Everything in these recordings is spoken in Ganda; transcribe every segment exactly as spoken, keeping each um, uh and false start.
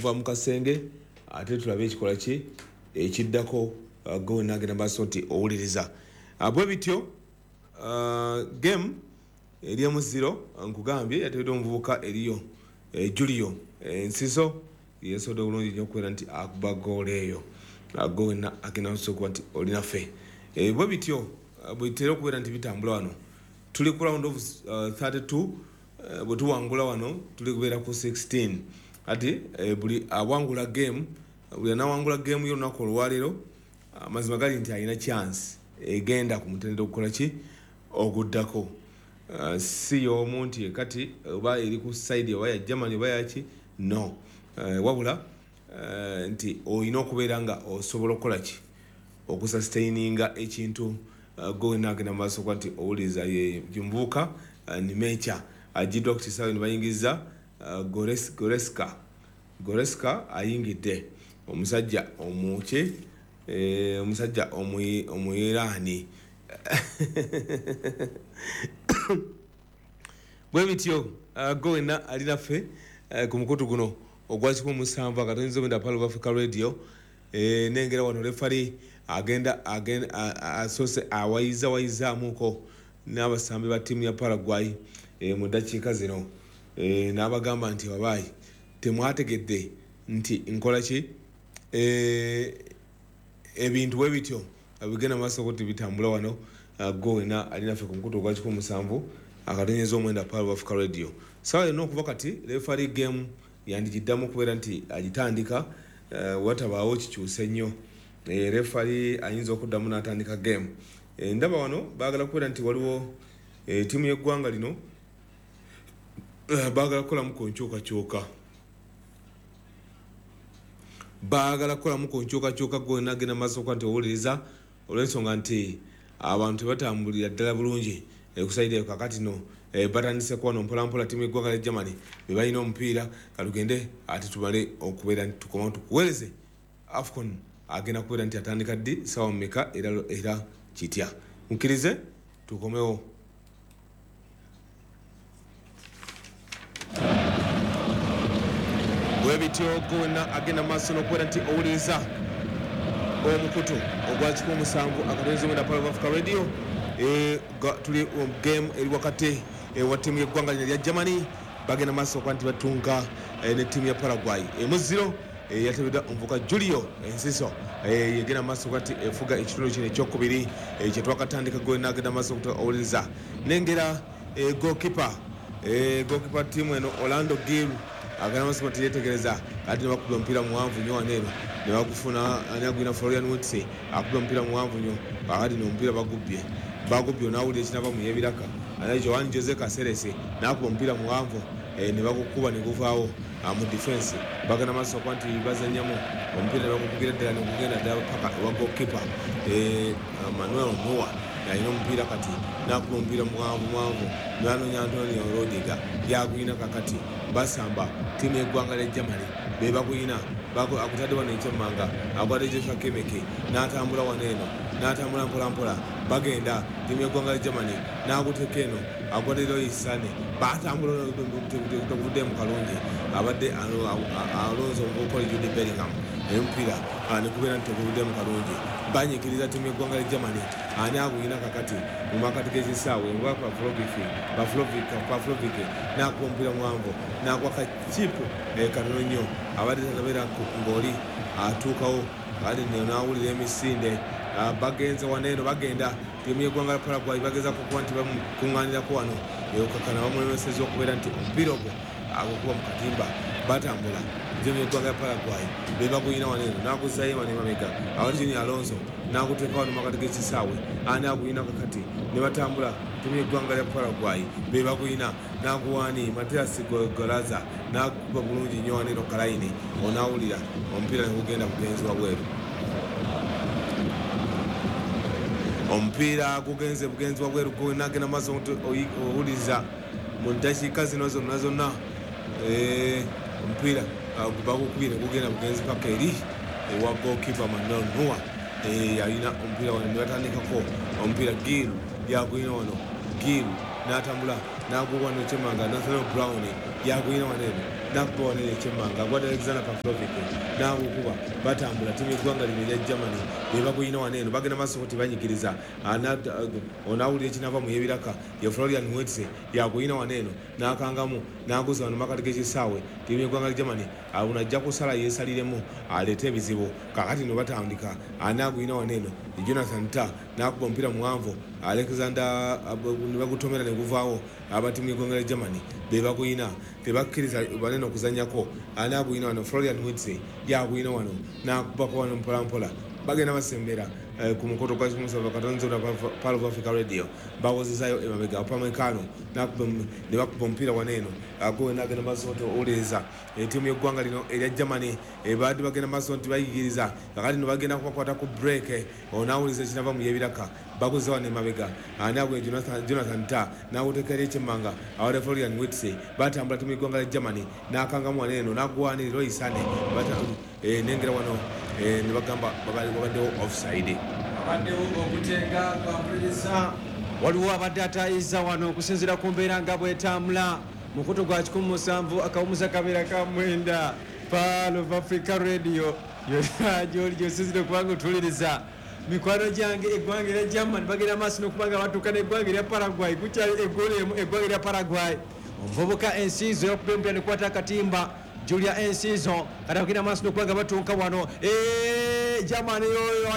Okuva mu kasenge ate tulabe ekikola ki ekiddako. Gwe nagenda maaso nti owuliriza bwe bityo. Game eri emu zero, nkugambye yateereddwa omuvubuka eriyo Julio Nsiso, yesobodde bulungi nnyo okubeera nti akuba goolo eyo. Gwe wenna agenda maaso okuba nti olinaffe, bwe bityo bwetera okubeera nti bitambula wano. Tuli ku round of thirty-two. Bwe tuwangula wano tuli kubeera ku sixteen. Ati buli awangula game, buli anawangula game y'olunaku olwaleero, amazima gali nti alina chance egenda ku mutendera okukola ki oguddako. Si y'omu nti kati oba eri ku side oba ya Germany oba yaki, no, wabula nti olina okubeera nga osobola okukola ki okusustaininga ekintu. Gwe wenna agenda mu maaso okuba nti owuliriza, ye muvubuka Nimecha agiddwa ku kisaawe ne bayingiza Goretzka. Goretzka ayingidde, omusajja omuki, omusajja Omuyiraani. Bwe bityo, gwe wenna ali naffe ku mukutu guno ogwa kikumi musanvu akatono omwenda Pearl of Africa Radio. Nengera wano referee agenda asoose awayiza wayizaamuko n'abasambi ba ttiimu ya Paraguay mu ddakiika zino, n'abagamba nti wabaayi temwategedde nti nkola ki. Ebintu bwe bityo bigenda maaso kuti bitambula wano. Gwe wenna ali naffe ku mukutu ogwa kikumi musanvu akatonyeza omwenda Pearl of Africa Radio, sawa yonna okuva kati referee game yandigiddamu okubeera nti agitandika. Watabaawo kikyuse nnyo, referee ayinza okuddamu n'atandika game. Ndaba wano baagala kubeera nti waliwo ttiimu y'eggwanga lino baagala kukolamu ku nkyukakyuka, baagala kukolamu ku nkyukakyuka. Gwe nagenda maaso okuba nti owuliriza, olw'ensonga nti abantu tebatambulira ddala bulungi ekusaidde kakati no batandise kuwano mpolampola. Ttiimu y'eggwanga lya Germany be balina omupiira. Katugende ate tumale okubeera nti tukomawo tukuweereze AFCON agenda kubeera nti atandika ddi, sawa mmeka, era era kitya. Mukkirize tukomewo. Bwe bityo, gwe wenna agenda maaso n'okubeera nti owuliriza omukutu ogwa kikumi musanvu akatono omwenda Pearl of Africa Radio, tuli game eri wakati wa ttiimu y'eggwanga lino erya Germany, bagenda maaso okuba nti batunga ne ttiimu ya Paraguay. Emu zero, yatebeddwa omuvubuka Julio Ensiso, yegenda maaso okuba nti efuga ekitundu kino ekyokubiri kyetwakatandika. Gwe nagenda maaso owuliriza, nengera goalkeeper goalkeeper ttiimu eno Orlando Gil agenda maaso nti yetegereza ate ne bakuba omupiira muwanvu nnyo wano eno ne bagufuna. Ani agwina? Florian Wirtz akuba omupiira muwanvu nnyo. Kakati n'omupiira bagubbye, bagubbye, onaawulira ekinava mu yebiraka. Ana Joan Jose Caceres n'akuba omupiira muwanvu ne bagukuba ne guvaawo mu defense. Bagenda maaso okuba nti bazannyamu omupiira ne bagukubira ddala ne gugenda ddala paka ewa goalkeeper Manuel Neuer. Alina omupiira kati n'akuba omupiira muwanvu muwanvu, nanoonya Antonio Rudiger, yagwina. Kakati basamba, ttiimu y'eggwanga lya Germany be bagwina. Akutadde wano ekyemmanga, akwata Joshua Kimmich n'atambula wano eno, n'atambula mpolampola. Bagenda ttiimu y'eggwanga lya Germany, n'aguteeka eno, akwata Leroy Sane, batambula teguvuddemu kalungi. Abadde alonze omuvubuka oli Jude Bellingham, omupiira ne gubeera nti teguvuddemu kalungi. Banyikiriza ttiimu y'eggwanga lya Germany. Ani agwina kakati mu makati g'ekisaawe? Nga Pavlovic n'akuba omupiira muwanvu, n'akuba kakiipu katono nnyo, abadde tanabeera ng'oli atuukawo. Kati n'awulira emisinde. Bagenze wano eno, bagenda ttiimu y'eggwanga lya Paraguay, bagezaako okuba nti bamukuŋŋaanirako wano, okakana bamulemesezza okubeera nti omupiira ogwo agukuba mu katimba. Batambula, ttiimu y'eggwanga lya Paraguay be baguyina wano eno, n'aguzzayo wano emabega awali Junior Alonso, n'aguteeka wano makati g'ekisaawe. Ani aguyina kakati? Ne batambula, ttiimu y'eggwanga lya Paraguay be baguyina, n'aguwaani Matias Golaza, n'agukuba bulungi nnyo wano eno kalayini, onaawulira omupiira ne gugenda bugenzi wabweru. Omupiira gugenze bugenzi wabweru. Nagenda maaso owuliriza mu ddakiika zino zonna zonna, omupiira bagukubire gugenda bugenzi paka eri ewa goalkeeper Manuel Neuer. Alina omupiira wano ne batandikako omupiira. Gil yaguyina wano, Gil n'atambula n'aguwa wano kyemanga. Nathaniel Brown yaguyina wano eno. Nakuba wano ekyemmanga agwadde Alexander Pavlovic n'agukuba batambula ttiimu y'eggwanga lino erya Germany be baguyina wano eno bagenda maaso kuti banyigiriza onaawulira ekinava mu y'ebiraka ye Florian Wirtz yaguyina wano eno n'akangamu n'aguza wano makati g'ekisaawe ttiimu y'eggwanga lya Germany ono ajja kusala yeesaliremu aleete ebizibu kakati no batandika anaaguyina wano eno Jonathan Tah n'akuba omupiira muwanvu Alexander ne bagutomera ne guvaawo aba ttiimu y'eggwanga lya Germany be baguyina tebakkiriza banene okuzannyako anaaguyina wano Florian Wirtz yaguyina wano n'akubako wano mpola mpola bagenda basembera ku mukoto gwa Kimusa Katonzo na Pearl of Africa Radio bawozezayo emabega Upamecano ne bakuba omupiira wano eno agowe n'agenda maaso nti owuliriza ettiimu y'eggwanga lino erya Germany baadde bagenda maaso nti bayigiriza kakati no bagenda kubakwata ku break onaawuliza ekinava mu y'ebiraka baguze wano emabega anaagwe Jonathan Tah n'aguteekera ekyemmanga awadde Florian Wirtz batambula ttiimu y'eggwanga lya Germany n'akangamu wano eno n'agwanirira Leroy Sane nengera wano ne bagamba babaddewo offside abaddewo okutenga kwampuliriza waliwo abadde atayiza wano okusinziira ku mbeera nga bwetambula mukutu gwa kikumi musanvu akawumuza kabeera ka mwenda Pearl of Africa Radio yonna gyoli gyosinzire okubanga otuliriza mikwano gyange eggwanga erya Germany bagenda maaso n'okubanga batuuka n'eggwanga erya Paraguay kukyali eggolo emu eggwanga erya Paraguay omuvubuka ensiizo yokuba omupiira nekwata akatimba Julia Enciso kati bagenda maaso n'okubanga batuuka wano Germany yoyo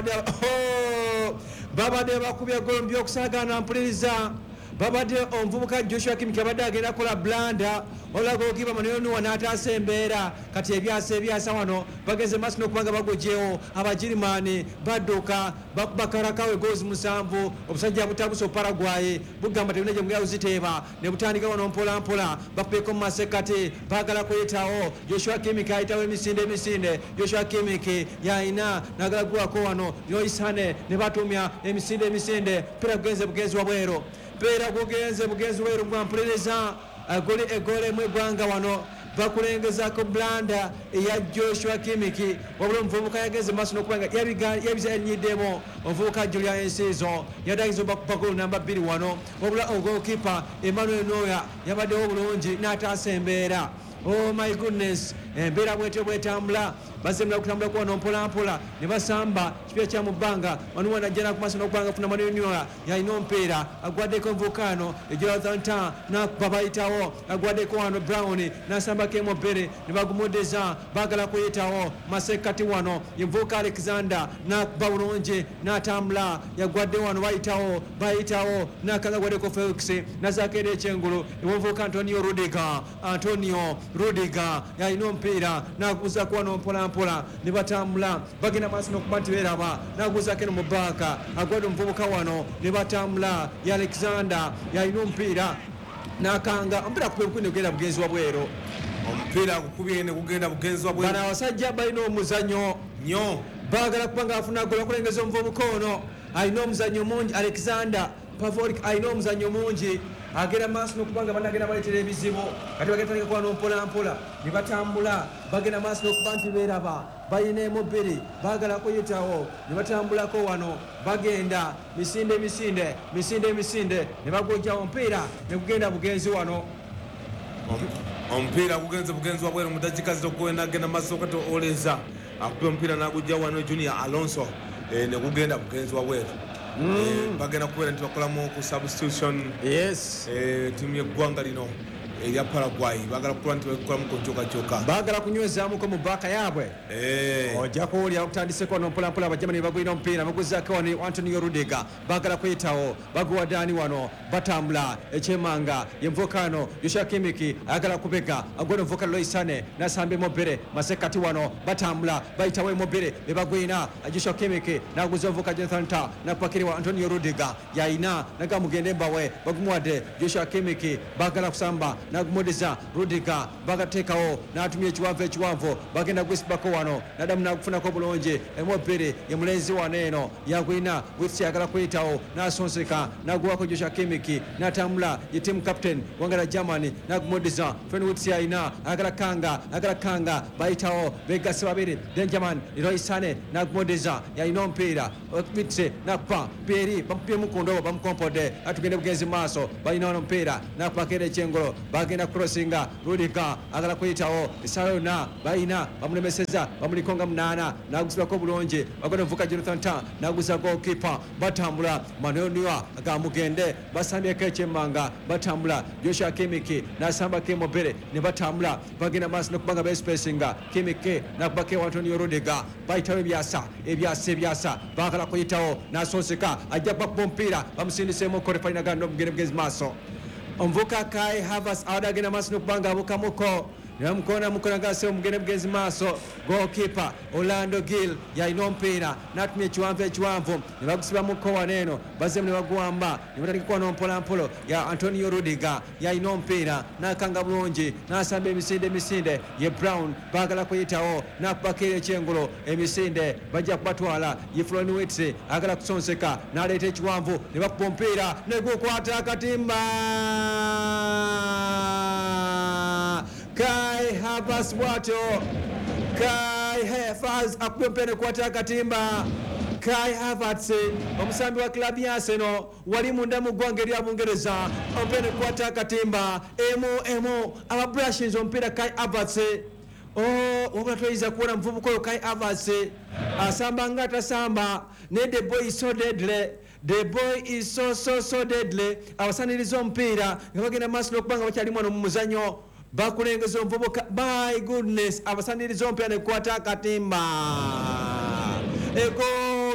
babadde bakubye golo mu byokusaagaana mpuliriza babadde omuvubuka Joshua Kimmich abadde agenda kukola blanda wabula goalkeeper Manuel Neuer n'ataasa embeera kati ebyasa ebyasa wano bagenze maaso n'okubanga bagogyewo Abagirimani badduka bakuba Karakawe goals musanvu obusajja butabuse Paraguay bugamba tebulina gye bugenda kuziteeba ne butandika wano mpola mpola bakubyeko mu masekkati baagala kuyitawo Joshua Kimmich ayitawo emisinde emisinde Joshua Kimmich yayina n'agala kuwako wano Leroy Sane ne batumya emisinde emisinde mpira gugenze bugenzi wabweru mpeera gugenze bugenzi wabweru gwa mpuliriza agoli egole mu eggwanga wano bakulengezaako blanda eya Joshua Kimmich wabula omuvubuka yagenze maaso n'okubanga yabizanyiddemu omuvubuka Julia Enciso yadagiza bakuba golo namba bbiri wano wabula goalkeeper Emmanuel Neuer yabaddewo bulungi n'ataasa embeera. Oh my goodness, embeera bwetyo bwetambula bazemula kutambula kwano mpola mpola ne basamba kipya kya mu bbanga wano wanajja ku maaso n'okubanga funa Manuel Neuer yalina omupiira agwaddeko nvukano Jonathan Tah n'akuba bayitawo agwaddeko wano Brown n'asambako emobere ne bagumuddiza baagala kuyitawo masekkati wano yenvuka Alexander n'akuba bulungi n'atambula yagwadde wano bayitawo bayitawo n'akanga agwaddeko Felix n'azaako eri ekyengulu ewenvuka Antonio Rudiger Antonio Rudiger yalina omupiira n'aguzaako wano mpola mpola ne batambula bagenda maaso n'okuba nti beeraba n'aguzaako eno mu bbaaka agwadde omuvubuka wano ne batambula ye Alexander yalina omupiira n'akanga omupiira akuba ebikumi ne gugenda bugenzi wabweru omupiira gukubye ne gugenda bugenzi wabweru bano abasajja balina omuzannyo nnyo baagala kuba nga afuna gola okulengeza omuvubuka ono alina omuzannyo mungi Alexander Pavlovic alina omuzannyo mungi agenda maaso n'okuba nga bannagenda baleetera ebizibu kati bagenda tandika kuba mpola mpola ne batambula bagenda maaso n'okuba nti beeraba balina emu bbiri baagala kuyitawo ne batambulako wano bagenda misinde misinde misinde misinde ne bagojjawo omupiira ne gugenda bugenzi wano omupiira gugenze bugenzi wabweru mu dakiika zitokugenda agenda maaso kati oleza akuba omupiira n'agujja wano Junior Alonso ne gugenda bugenzi wabweru bagenda kubeera nti bakolamu ku substitution yes ttiimu y'eggwanga lino erya Paraguay baagala kukola nti bakolamu ku nkyukakyuka baagala kunywezaamuko mu bbaaka yaabwe ojja kuwulira okutandiseko wano mpolampola Abajamani bagwina omupiira baguzaako wano Antonio Rudiger baagala kuyitawo baguwa Dani wano batambula ekyemanga ye nvukano Joshua Kimmich ayagala kubega agwena omuvuka Leroy Sane n'asamba emobere masekkati wano batambula bayitawo emobere ne bagwina Joshua Kimmich n'aguza omuvuka Jonathan Tah n'apakiriwa Antonio Rudiger yayina naga mugende mbawe bagumuwadde Joshua Kimmich baagala kusamba nagumuddiza Rudiger bagateekawo n'atumya ekiwanvu ekiwanvu bagenda gwisibako wano naddamu n'agufunako bulungi emobere ye mulenzi wano eno yagwina Wirtz ayagala kuyitawo n'asonseka n'aguwako Joshua Kimmich n'atambula ye team captain gwanga lya Germany n'agumuddiza Florian Wirtz ayina ayagala kanga ayagala kanga bayitawo begasse babiri Benjamin Leroy Sane n'agumuddiza yalina omupiira Wirtz n'akuba Pierre bamukubyemu ku ndobo bamukompodde atugende bugenzi mu maaso balina wano omupiira n'akubako era ekyengolo Bagenda crossinga Rudiger agala kuyitawo essaawa yonna balina bamulemeseza bamuliko nga munaana n'agusibako bulungi bagenda omuvuka Jonathan Tah n'aguza goalkeeper batambula Manuel Neuer agamugende basambyeko ekyemmanga batambula Joshua Kimmich n'asambako Immobile ne batambula bagenda maaso n'okubanga bespacinga Kimmich n'akubako Antonio Rudiger bayitawo ebyasa ebyasa ebyasa baagala kuyitawo n'asonseka ajja kubakuba omupiira bamusindiseemuko refali naganda omugende mugezi maaso omuvuka Kai Havertz abadde agenda maaso n'okubanga abukamuko ne mukona gase omugende mugezi maaso goalkeeper Orlando Gill yalina omupiira n'atumya ekiwanvu ekiwanvu ne bagusibamuko wano eno bazzeemu ne baguwamba ne batandika kuwano mpolampola ya Antonio Rudiger yalina omupiira n'akanga bulungi n'asamba emisinde emisinde ye Brown baagala kuyitawo n'akubako era ekyengulu emisinde bajja kubatwala ye Florian Wirtz agala kusonseka n'aleeta ekiwanvu ne bakuba omupiira ne gukwata akatimba Kai Havertz bw'atyo Kai Havertz akubye omupiira ne gukwata akatimba Kai Havertz omusambi wa club ya Arsenal wali munda mu ggwanga erya Bungereza omupiira ne gukwata akatimba emu emu ababrushinze omupiira Kai Havertz. Oh, wabula toyinza kuwona muvubuka oyo Kai Havertz asamba nga tasamba naye the boy is so deadly. The boy is so so so deadly. Abasaniriza omupiira nga bagenda maaso n'okuba nga bakyali wano mu muzannyo bakulengeza omuvubuka my goodness abasaniriza omupiira ne gukwata akatimba ego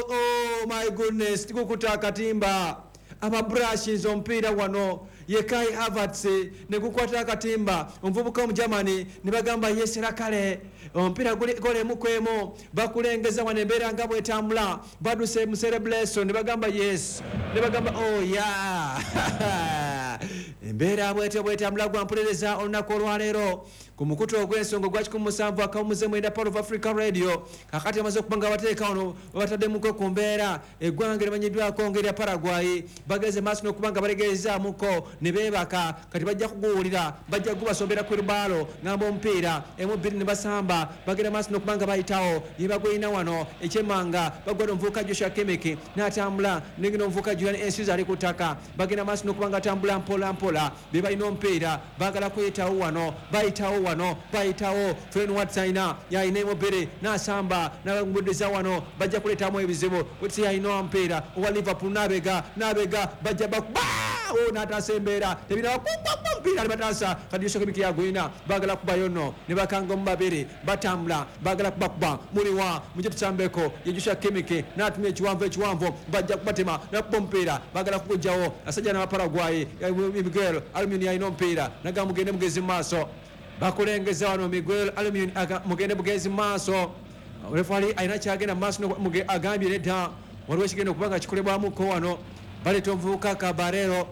oh my goodness tigukuta akatimba ababrushinze omupiira wano ye Kai Havertz ne gukwata akatimba omuvubuka omugermany ne bagamba yesera kale omupiira guli golemu kwemu bakulengeza wano embeera nga bwetambula baduse mu celebration ne bagamba yes ne bagamba oh yeah embeera bwetyo bwetambula gwampuliriza olunaku olwaleero ku mukutu ogw'ensonga ogwa kikumi musanvu akawumuze mwenda Power of Africa Radio. Kakati amaze okuba nga bateeka wano babataddemuko ku mbeera eggwanga erimanyiddwako ng'erya Paraguay bageze maaso n'okuba nga balegeezaamuko ne beebaka kati bajja kuguwulira bajja kugubasombera ku lubaalo ngamba omupiira emu bbiri ne basamba bagenda maaso n'okuba nga bayitawo ye bagwina wano ekyemmanga bagwada omuvubuka Joshua Kimmich n'atambula negenda omuvubuka Julian Enciso ali ku ttaka bagenda maaso n'okuba nga atambula mpola mpola be balina omupiira baagala kuyitawo wano bayitawo wano bayitawo Florian Wirtz alina yalina Immobile n'asamba n'abagumuddiza wano bajja kuleetamu ebizibu Wirtz yalina omupiira owa Liverpool n'abega n'abega bajja bakuba n'ataasa embeera tebiraba omupiira ne bataasa kati Joshua Kimmich yagwina baagala kubayo nno ne bakanga mu babiri batambula baagala kubakuba muliwa mujje tusambeko ye Joshua Kimmich n'atumya ekiwanvu ekiwanvu bajja kubatema n'akuba omupiira baagala kugujjawo asajja n'Abaparaguay Miguel Almiron yalina omupiira nagamba mugende mugezi mu maaso bakulengeza wano Miguel Almiron mugende mugezi mu maaso refali alina kyagenda mu maaso agambye nedda waliwo ekigenda okuba nga kikolebwamuko wano baleeta omuvubuka Cabarero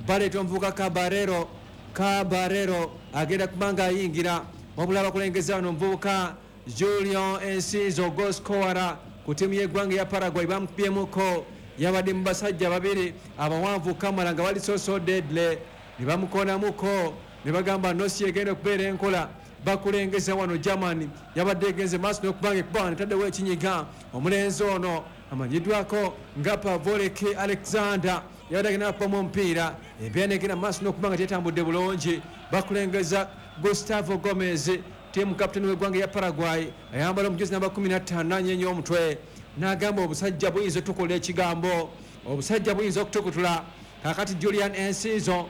baleeta omuvubuka Cabarero Cabarero agenda kuba nga ayingira wabula bakulengeza wano omuvubuka Julian Enciso goalscorer ku ttiimu y'eggwanga eya Paraguay bamukubyemuko yabadde mu basajja babiri abawanvu kamala nga bali so so deadly ne bamukonamuko ne bagamba nosi egenda okubeera enkola bakulengeza wano Germany yabadde egenze maaso n'okuba nga ekuba netaddewo ekinyiga omulenzi ono amanyiddwako nga Pavolek Alexander yabadde agenda akubamu omupiira embeera negenda maaso n'okuba nga tetambudde bulungi bakulengeza Gustavo Gomez team captain w'eggwanga ya Paraguay ayambala omujuzi namba kumi na ttaano n'anyeenya omutwe n'agamba obusajja buyinza otukola ekigambo obusajja buyinza okutukutula. Kakati Julian Enciso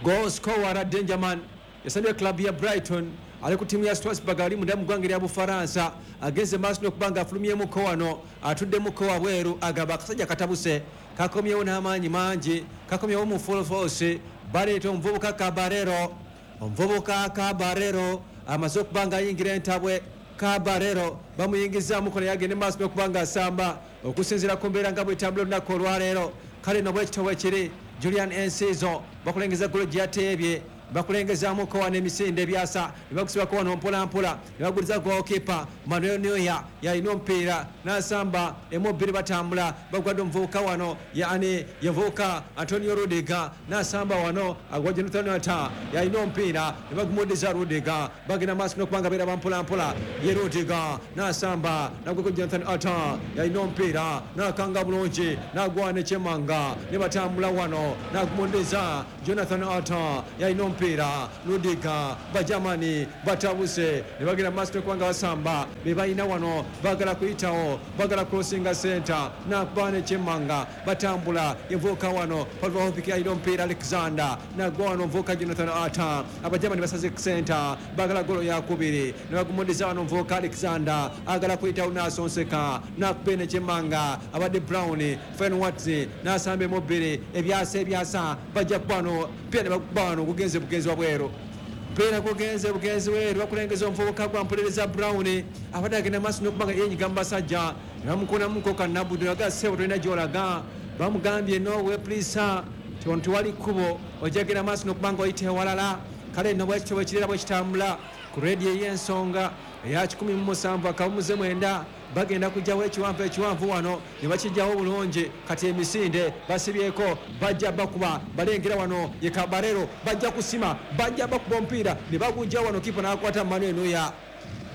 goalscorer Dangerman yasambye club ya Brighton ali ku ttiimu ya Strasbourg ali munda mu ggwanga erya Bufaransa agenze maaso n'okuba nga afulumyemuko wano atuddemuko wabweru agamba akasajja katabuse kakomyewo n'amaanyi mangi kakomyewo mu full force baleeta omuvubuka Cabarero omuvubuka Cabarero amaze okuba nga ayingira entabwe Cabarero bamuyingizaamuko naye agende maaso n'okuba nga asamba okusinziira ku mbeera nga bwetambula olunaku olwaleero kale no bwekito bwe kiri Julian Enciso bakulengeza golo gye yateebye bakulengezaamuko wano emisinde ebyasa ne bagusibako wano mpola mpola ne baguliza goalkeeper Manuel Neuer yalina omupiira n'asamba emu bbiri batambula bagwadde omuvubuka wano yani yevubuka Antonio Rudiger n'asamba wano agwa Jonathan Tah yalina omupiira ne bagumuddiza Rudiger bagenda maaso n'okuba nga beera bampola mpola ye Rudiger n'asamba nagweko Jonathan Tah yalina omupiira n'akanga bulungi n'agwana ekyemanga ne batambula wano n'agumuddiza Jonathan Tah yalina omupiira omupiira Ludiga Bajamani batabuse ne bagenda maaso kubanga basamba be balina wano bagala kuyitawo bagala crossinga center nakuba nekyemmanga batambula envuka wano Pavlovich alina omupiira Alexander nagwa wano nvuka Jonathan Ata Abajamani basaze center bagala golo yakubiri ne bagumudiza wano nvuka Alexander agala kuyitawo nasonseka nakuba nekyemmanga abadde Brown Fen Watson nasambe mubiri ebyasa ebyasa bajja kubano pia ne bakubano kugenze bugenzi wabwero pera kugenze bugenzi weru bakulengeza omuvubuka gwa mpuliriza Brown abadde agenda maaso n'okubanga yenyiga mu basajja ne bamukonamuko Kannabudu naga ssebo tolina gy'olaga bamugambye nowe please tewali kkubo ojja genda maaso n'okubanga oyita ewalala kale nno bwekityo bwekirera bwekitambula ku rediyo ey'ensonga eya kikumi mu musanvu akawumuze mwenda bagenda kujjawo ekiwanvu ekiwanvu wano ne bakijjawo bulungi kati emisinde basibyeko bajja bakuba balengera wano ye Kabarero bajja kusima bajja bakuba omupiira ne bagujja wano kipa n'akwata Manuel Neuer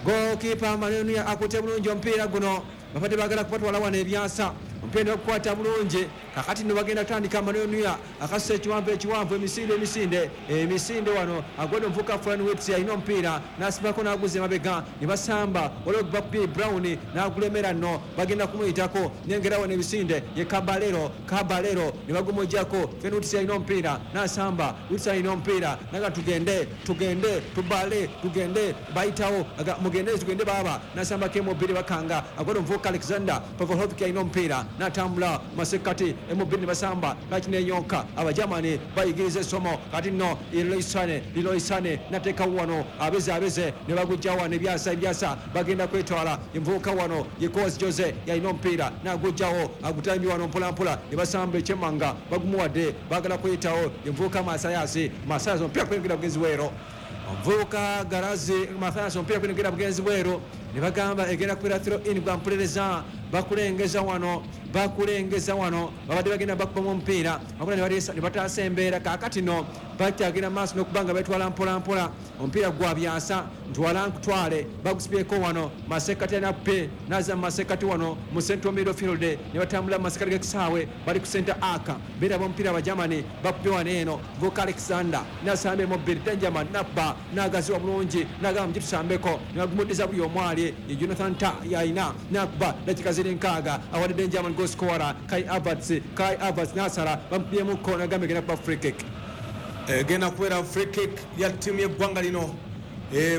goalkeeper Manuel Neuer akutte bulungi omupiira guno babadde baagala kubatwala wano ebyasa omupiira okukwata bulungi kakati nno bagenda kutandika Manuel Neuer akasusa ekiwanvu ekiwanvu emisinde emisinde emisinde wano agwedde omuvuka Fran Wits alina omupiira n'asibako n'aguza emabega ne basamba waliwo bakubye Brown n'agulemera nno bagenda kumuyitako nengera wano emisinde ye Kabalero Kabalero ne bagumujjako Fran Wits alina omupiira n'asamba Wits alina omupiira naga tugende tugende tubale tugende bayitawo mugende tugende baaba n'asambako emubiri bakanga agwedde omuvuka Alexander Pavlovich alina omupiira n'atambula masekati emubiri ne basamba kakineyonka Abajamani bayigiriza essomo kati nno Leroy Leroy Sane nateeka wano abeze abeze ne bagujja wano ebyasa ebyasa bagenda kwetwala envubuka wano ye Kozi Jose yalina omupiira n'agujjawo agutambye wano mpolampola ne basamba ekyemmanga bagumuwadde bagala kuyitawo envubuka Masayasi Masayasi omupiira kuyingira bugenzi bwero omuvubuka Garazi Mathias omupiira kuyingira bugenzi bwero ne bagamba egenda kubeera throw in gwa mpuliriza bakulengeza wano bakulengeza wano babadde bagenda bakubamu omupiira wabula ne bataasa embeera kaakati no bakyagenda maaso n'okubanga betwala mpolampola omupiira gwa byasa ntwala nkutwale bagusibyeko wano masekati anape naza masekati wano mu central midfield ne batambula masekati g'ekisaawe bali ku center aka beeraba omupiira Abajamani bakubye wano eno Voka Alexander nasambe mobili Benjamin nabba n'agaziwa bulungi n'agamba mugitusambeko ne bagumuddiza buli omu ali ye Jonathan Ta yalina nakuba dakika ziri nkaaga awadde Benjamin goal scorer Kai Havertz Kai Havertz nasala bamukubyemukko n'agamba egenda kuba free kick egenda kubeera free kick ya ttiimu y'eggwanga lino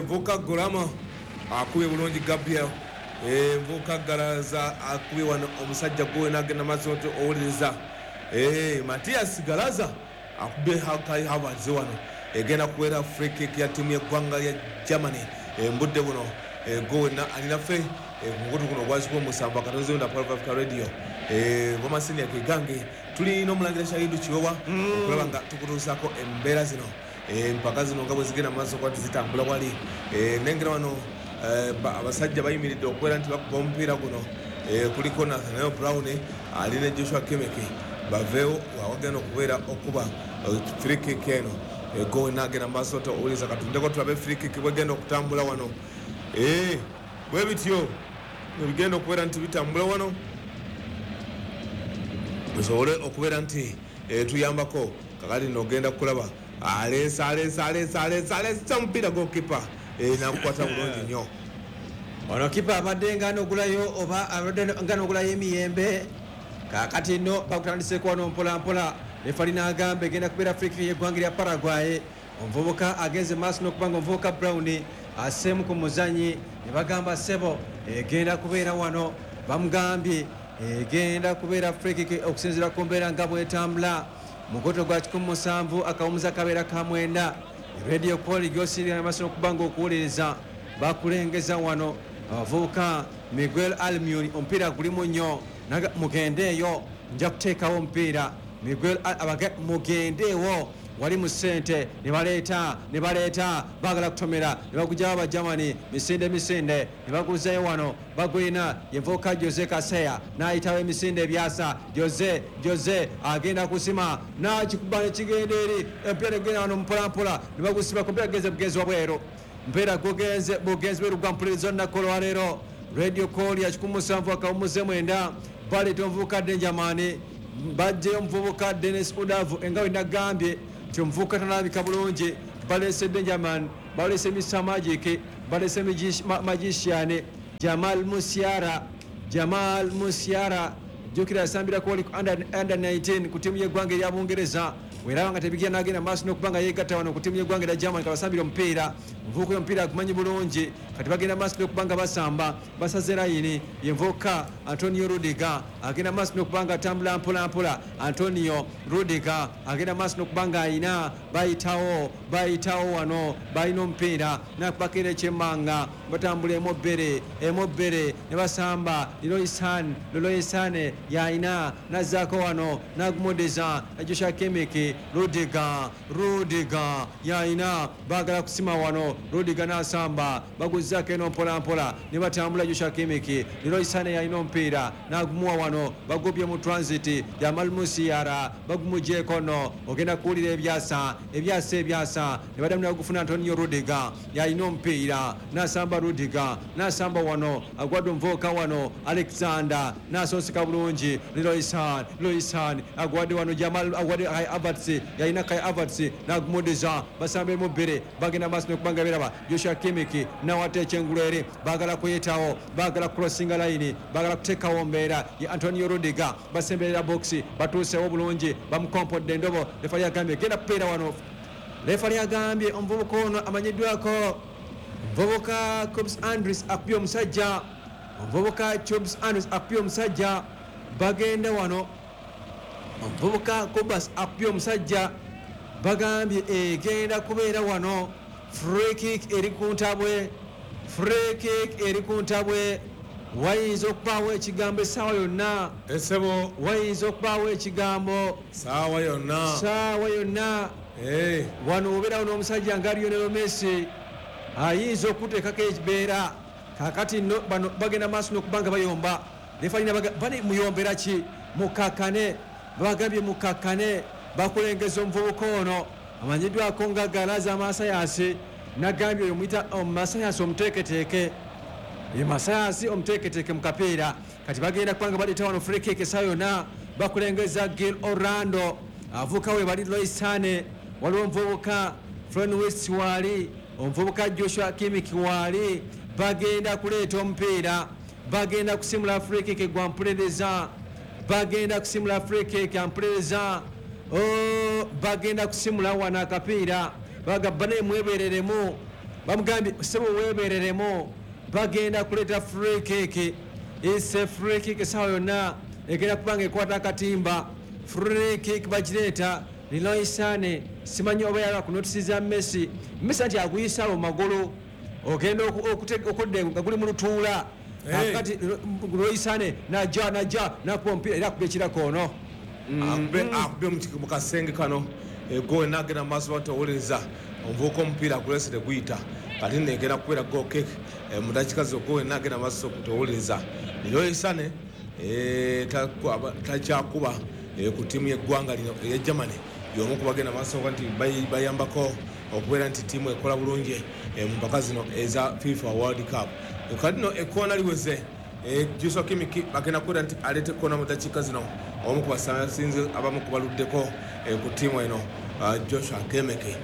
Vuka Gurama akubye bulungi Gabriel Vuka Garaza akubye wano omusajja gwe n'agenda maaso nti owuliriza Matias Garaza akubye Kai Havertz wano egenda kubeera free kick ya ttiimu y'eggwanga lya Germany mbudde buno gwe alinaffe mukutu guno ogwazibwa omusanvu akatonzi wenda Power Africa Radio Bomasini Kegange tuli n'omulangira Shahidu Kiwewa okulaba nga tukutuusaako embeera zino empaka zino nga bwe zigenda mu maaso kuba tizitambula wali nengera wano abasajja bayimiridde okubeera nti bakuba omupiira guno kuliko Nathaniel Brown ali ne Joshua Kimmich baveewo awagenda okubeera okuba free kick eno gowe n'agenda mu maaso owuliza katundeko tulabe free kick bwegenda okutambula wano bwe bityo ebigenda okubeera nti bitambula wano tusobole okubeera nti tuyambako kakati nogenda kulaba aleesa aleesa aleesa aleesa aleesa omupiira gokipa nakukwata bulungi nnyo ono kipa abadde nga anogulayo oba abadde nga anogulayo emiyembe kaakati nno bakutandiseeko wano mpolampola refali n'agamba egenda kubeera free kick y'eggwanga lya Paraguay omuvubuka agenze maaso n'okuba nga omuvubuka Brown aseemu ku muzanyi ne bagamba ssebo egenda kubeera wano bamugambye egenda kubeera free kick okusinziira ku mbeera nga bwetambula mukoto gwa kikumi musanvu akawumuza kabeera ka mwenda radio call gy'osirira maaso n'okuba nga okuwuliriza bakulengeza wano abavubuka Miguel Almiron omupiira gulimu nnyo mugendeeyo nja kuteekawo omupiira Miguel mugendeewo wali mu ssente ne baleeta ne baleeta baagala kutomera ne bagugyawo Abajamani misinde misinde ne baguzayo wano bagwina yenvuka Jose Kaseya n'ayitawo emisinde ebyasa Jose Jose agenda kusima n'akikuba ne kigenda eri empiira negenda wano mpolampola ne bagusibako omupiira gugenze bugenzi wabweru mpeera gugenze bugenzi bweru gwa mpuliriza olunaku olwaleero radio call ya kikumi musanvu akawumuze mwenda baleeta omuvubuka Benjamin bajjeyo omuvubuka Dennis Udavu enga we nagambye nti omuvubuka tanalabika bulungi Balese Benjamin, balese Mister Magic, balese Magician, Jamal Musiala, Jamal Musiala jukira asambira ku under, under nineteen ku timu y'eggwanga erya Bungereza. Weraba nga tebigenda n'agenda maaso n'okuba nga yeegatta wano ku timu y'eggwanga erya Germany kabasambira omupiira. Omuvubuka oyo omupiira agumanyi bulungi. Kati bagenda maaso n'okuba nga basamba, basaze layini. Yenvubuka Antonio Rudiger agenda maaso n'okuba nga atambula mpola mpola. Antonio Rudiger agenda maaso n'okuba nga ayina, bayitawo bayitawo wano, balina omupiira nakubako era ekyemmanga, batambula emobbere emobbere ne basamba. Leroy Sane, Leroy Sane yayina nazzaako wano nagumudeza Joshua Kimmich. Rudiger, Rudiger yayina, baagala kusima wano. Rudiger n'asamba, baguzzaako eno mpola mpola ne batambula. Joshua Kimmich, Leroy Sane yalina omupiira n'agumuwa wano, bagubye mu transit. Jamal Musiala bagumugyeko nno, ogenda kuwulira ebyasa ebyasa ebyasa ne baddamu ne bagufuna. Antonio Rudiger yalina omupiira n'asamba. Rudiger n'asamba wano, agwadde omuvubuka wano Alexander n'asonseka bulungi. Leroy Sane, Leroy Sane agwadde wano Jamal, agwadde Kai Havertz, yalina Kai Havertz n'agumudiza, basamba emu bbiri, bagenda maaso n'okubanga biraba. Joshua Kimmich nawata ekyengulu eri, baagala kuyitawo, baagala crossinga line, baagala kuteekawo mbeera ye Antonio Rudiger. Basemberera box, batuusewo bulungi, bamukompodde endobo. Refali agambye genda kupeera wano. Refali agambye omuvubuka ono amanyiddwako omuvubuka Cobs Andres akubye omusajja, omuvubuka Cobs Andres akubye omusajja. Bagenda wano, omuvubuka Cobas akubye omusajja, bagambye egenda kubeera wano free kick eri ku ntabwe, free kick eri ku ntabwe. Wayinza okubaawo ekigambo essaawa yonna. Esebo. Wayinza okubaawo ekigambo saawa yonna. Saawa yonna. Eh, wano obeerawo n'omusajja nga Lionel Messi ayinza okuteekako ekibeera. Kakati nno bano bagenda maaso n'okuba nga bayomba. Refalina bali muyombera ki? Mukakkane, bagambye mukakkane. Bakulengeza omuvubuka ono amanyiddwako nga Galaza Masayasi, nagambye oyo muyita Masayasi omuteeketeeke, ye Masayasi omuteeketeeke mu kapiira. Kati bagenda kubanga baleeta wano free kick essaawa yonna. Bakulengeza Gil Orlando, avuka we bali Leroy Sane, waliwo omuvubuka Florian Wirtz waali, omuvubuka Joshua Kimmich waali. Bagenda kuleeta omupiira, bagenda kusimula free kick gwa mpulereza, bagenda kusimula free kick ampulereza. Oh, bagenda kusimula wano akapiira. Bagamba naye mwebereremu, bamugambye sebo webereremu. Bagenda kuleeta free kick, ise free kick essaawa yonna egenda kubanga ekwata akatimba. Free kick bagireeta Leroy Sane, simanyi oba yala kunotisiza Messi. Messi anti aguyisa mu magulu, ogenda okudda nga guli mu lutuula. Kakati Leroy Sane najja najja nakuba omupiira era akuba ekirako ono. Akube akube mu kasenge kano goal nagenda maaso batowuliriza omuvubuka omupiira agulese teguyita. Kati nno egenda kubeera goal kick mu dakiika zo. Goal nagenda maaso kutowuliriza Leroy Sane takyakuba ku ttiimu y'eggwanga lino erya Germany, y'omu ku bagenda maaso nti bayambako okubeera nti ttiimu ekola bulungi mu mpaka zino eza FIFA World Cup. Kati nno ekkoona liweze, Joshua Kimmich bagenda kubeera nti aleeta ekkoona mu dakiika zino, omu ku basinze abamu ku baluddeko ku ttiimu eno Joshua Kimmich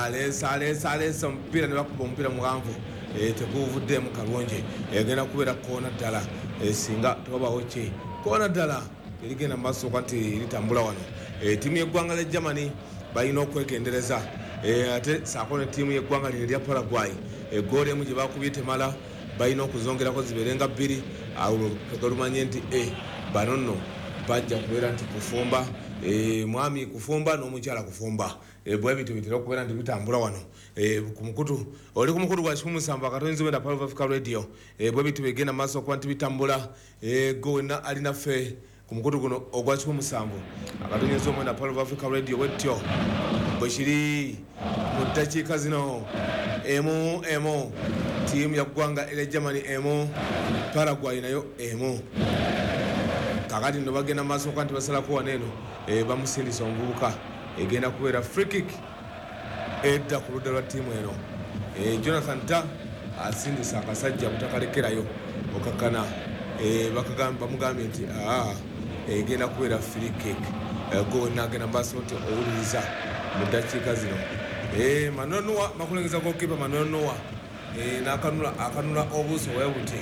aleesa aleesa aleesa omupiira ne bakuba omupiira muwanvu, teguvuddemu kalungi. Egenda kubeera koona ddala singa tewabawo ki koona ddala erigenda mu maaso nti litambula wano. Ttiimu y'eggwanga lya Germany balina okwegendereza, ate saako ne ttiimu y'eggwanga lino erya Paraguay. Eggoolo emu gye bakubye temala, balina okuzongerako zibeere nga bbiri, awo lumanye nti bano nno bajja kubeera nti kufumba, mwami kufumba n'omukyala kufumba. Bwe bityo bitera okubeera nti bitambula wano ku mukutu, oli ku mukutu gwa kikumi musanvu akatonzi wenda Power of Africa Radio. Bwe bityo bigenda maaso okuba nti bitambula. Go wenna alinaffe ku mukutu guno ogwa kikumi musanvu akatonzi omwenda Power of Africa Radio, bwetyo bwe kiri mu ddakiika zino. Emu emu, ttiimu ya ggwanga erya Germany emu, Paraguay nayo emu. Kakati nno bagenda maaso okuba nti basalako wano eno, bamusindisa omuvubuka, egenda kubeera free kick edda ku ludda lwa ttiimu eno. Jonathan Ta asindisa akasajja butakalekerayo okakkana, bamugambye nti aa egenda kubeera free kick. Go nagenda maaso nti owuliriza mu ddakiika zino. Eh, Manuel Neuer makulengeza goalkeeper Manuel Neuer eh nakanula akanula obuso webuti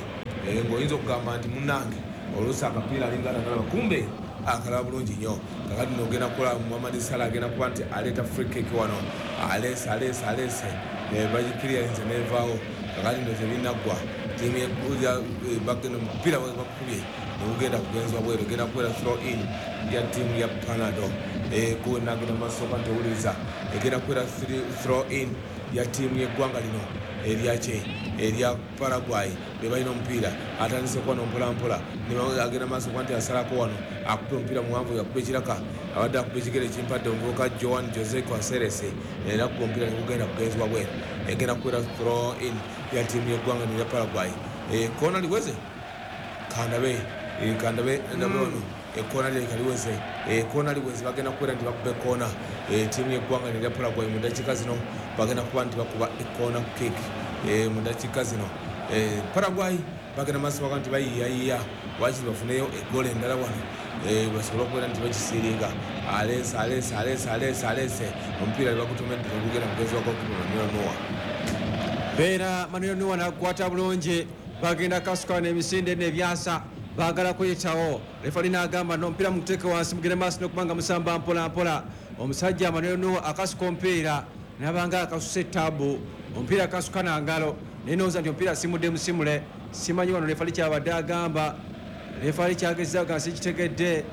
eh ngoyinza okugamba nti munange oluusi akapiira alinga atakalaba kumbe akalaba bulungi nnyo. Kakati nogenda kukola Muhammad Salah agenda kuba nti aleeta free kick wano, alese alese alese bagikiriyalinze nevaawo. Kakati ndo tebinaggwa tiimu bagenda omupiira bakubye negugenda kugenzwa bweru, egenda kubeera throw in ya tiimu ya Panado. Nagenda maaso nti owuliriza egenda kubeera throw in ya tiimu y'eggwanga lino eryaki erya Paraguay. Be balina omupiira atandise kuwano mpolampola, agenda maaso kuba nti asalako wano akuba omupiira muwanvu yakuba ekiraka abadde akuba ekigere ekimpadde omuvubuka Joan Jose Caceres era akuba omupiira negugenda kugenzebwa bweru, egenda kubeera throw in ya tiimu y'eggwanga lino erya Paraguay. Koona liweze kandabe kandabe ndabe ono ekkoona lireka liweze, ekkoona liweze bagenda kubeera nti bakuba ekkoona ttiimu y'eggwanga erya Paraguay mu ddakiika zino bagenda kuba nti bakuba ekkoona kick mu ddakiika zino. Paraguay bagenda maaso baga nti bayiiyayiiya wakiri bafuneyo eggoolo endala wano basobole okubeera nti bakisiiringa. Aleese aleese aleese aleese aleese omupiira bagutomedde negugenda mugenzi wa goalkeeper Manuel Neuer. Beera Manuel Neuer nakukwata bulungi, bagenda kasuka n'emisinde n'ebyasa baagala kuyitawo. Refali n'agamba n'omupiira muguteeke wansi mugende maaso n'okubanga musamba mpola mpola. Omusajja Manuel Neuer akasuka omupiira nabanga akasuse ettaabu, omupiira akasuka na ngalo naye ndowooza nti omupiira simudde musimule. Simanyi wano refali kyabadde agamba, refali kyagezaako nga sikitegedde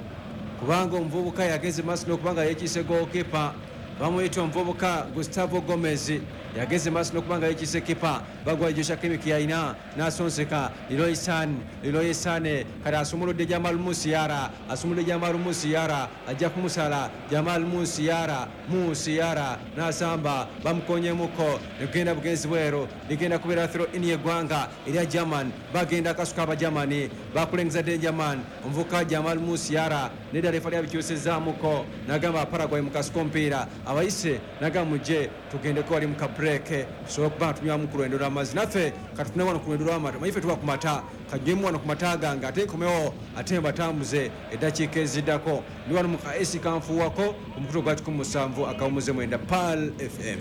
kubanga omuvubuka yageze maaso n'okubanga yeekiise goalkeeper bamuyita omuvubuka Gustavo Gomez yageze maaso n'okubanga yeekiise keeper bagwa Joshua Kimmich yalina n'asonseka Leroy Sane, Leroy Sane kati asumuludde Jamal Musiala, asumuludde Jamal Musiala ajja kumusala Jamal Musiala, Musiala n'asamba bamukonyemuko negenda bugenzi bweru ligenda kubeera throw in y'eggwanga erya German. Bagenda akasuka Abagermani bakulengeza Dengerman omuvubuka Jamal Musiala nedda refali abikyusizaamuko n'agamba Paraguay mukasuka omupiira abayise n'agamba mujje tugendeko wali mu kabureke tusobole okuba nga tunywamu ku lwendo lw'amazzi naffe katufune wano ku lwendo lw'amata manyi ffe tuba ku mata kanywemu wano ku mata gange ate nkomewo ate mbatambuze eddakiika eziddako. Ndi wano mu ka esi kanfuuwako omukutu gwa kikumi musanvu akawumuze mwenda Pearl F M.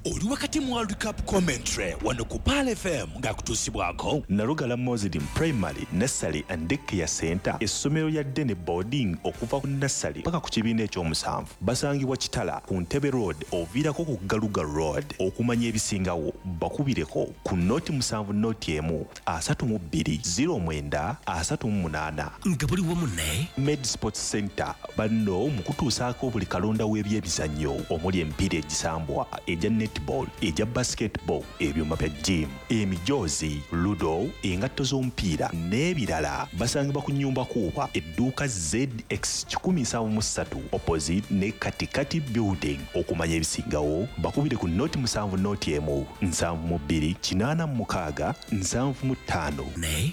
Oli wakati mu World Cup commentary wano ku Pearl F M ng'akutuusibwako Nalugala Muslim Primary Nursery and Daycare Center, essomero lya Dene Boarding okuva ku nursery paka ku kibiina ekyomusanvu. Basangibwa Kitala ku Ntebe Road oviirako ku Galuga Road. Okumanya ebisingawo bakubireko ku noti musanvu noti emu asatu mu bbiri zero mwenda asatu mu munaana. Nga buli wamu ne Med Sports Center banno mu kutuusaako buli kalonda w'ebyemizannyo omuli emipiira egisambwa egya netball, egya basketball, ebyuma bya gym, emijoozi, ludo, engatto z'omupiira n'ebirala. Basangibwa ku nnyumba kuuba edduuka Z X kikumi nsanvu mu ssatu opposite ne Katikati Building. Okumanya ebisingawo bakubire ku noti musanvu noti emu nsanvu mu bbiri kinaana mu mukaaga nsanvu mu ttaano.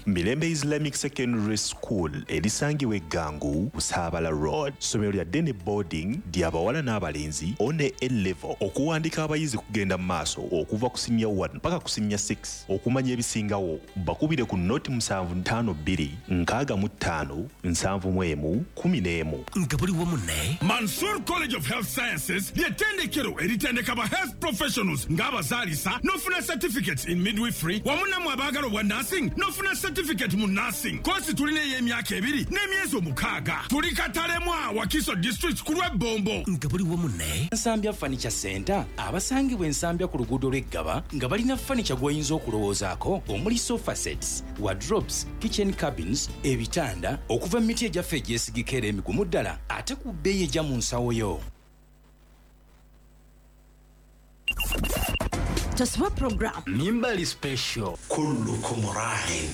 Mirembe Islamic Secondary School erisangibwa e Ggangu ku Saabala Road. Ssomero lya Dene Boarding ly'abawala n'abalenzi one A level. Okuwandika abayizi kugenda mu maaso okuva ku senior one paka ku senior six. Okumanya ebisingawo bakubire ku noti musanvu ttaano bbiri nkaaga mu ttaano nsanvu mu emu kumi n'emu. Nga buli wamu ne Mansour College of Health Sciences ly'ettendekero eritendeka ba health professionals ng'abazaalisa n'ofuna certificates in midwifery wamu nammwe abaagala obwa nursing n'ofuna certificate mu nursing. Koosi tulina ey'emyaka ebiri n'emyezi omukaaga. Tuli Katalemwa, Wakiso District ku lw'Ebbombo. Nga buli wamu ne Nsambya Furniture Center abasangibwa Ensambya ku luguudo lw'Eggaba nga balina furniture gw'oyinza okulowoozaako omuli sofa sets, wardrobes, kitchen cabins, ebitanda okuva mu miti egyaffe egyesigika era emigumu ddala ate ku bbeeyi ejja mu nsawo yo. Toswa program Mimbali Special. Kullukum ra'in